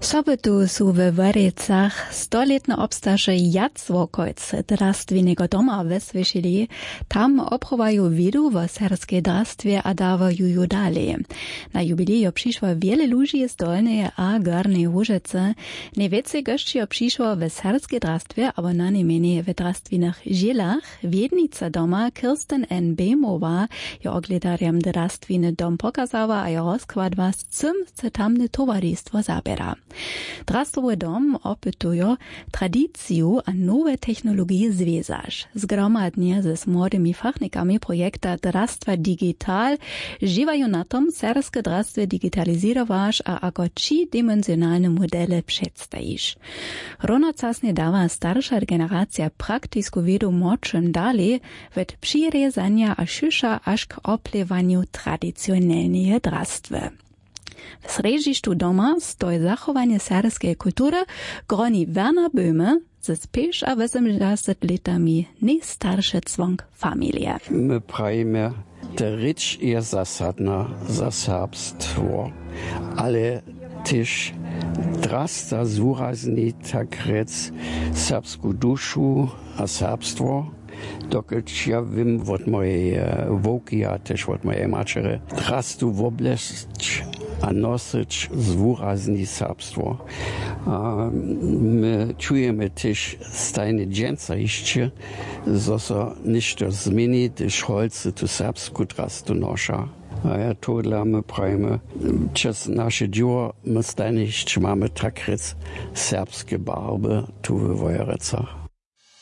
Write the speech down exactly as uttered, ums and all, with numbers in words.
Sobotu su we Wórjecach stolětne obstaše jacłokolc drastwineho doma wjesłyšili. Tam obchowaju wědu wo serbskej drastwje a dawaju ju dalej. Na jubilej jo přišło wjele ludźi z Dolneje a Gorneje Łužycy. Nejwjecej gosći jo přišło we serbskej drastwje abo na nejmjenej we drastwinych žělach. Wědnica doma Kirsten N. Bejmowa jo oglědarjam drastwiny dom pokazała a jo rozkładła, z cym se tamne towaristwo zaběra. Drastwowy dom opytujo tradiciju a nowe technologije zwězaš. Zgromadnje z młodymi fachnikami projekta drastwa digital dźěłaju na tom, serbske drastwje digitalizirowaš a ako třidimenzionalne modele předstajiš. Runocasnje dawa starša generacija praktisku wědu młodšym dalej, wot přirězanja a šuša až k oplěwanju tradicionelneje drastwy. W srjedźišću doma stoji zachowanje serbskeje kultury. Groni Werner Böhme z pěš a wosomdźesat lětami nejstarše cłonk familije. My prajimy, ta rěč je zasadna za serbstwo, ale tež drasta zwurazni tak rjec serbsku dušu a serbstwo. Dokelž ja wěm wot mojej wowki a tež wot mojej maćerje, drastu woblesć a nosyć zwurazni serbstwo. A my čujemy tež stajnje dźensa hišće, zo so něšto změni, hdyž holcy tu serbsku drastu noša. A ja tohodla my prajimy, přez naše dźěło my stajnje hišće mamy tak rjec serbske barby tu we Wojerecach.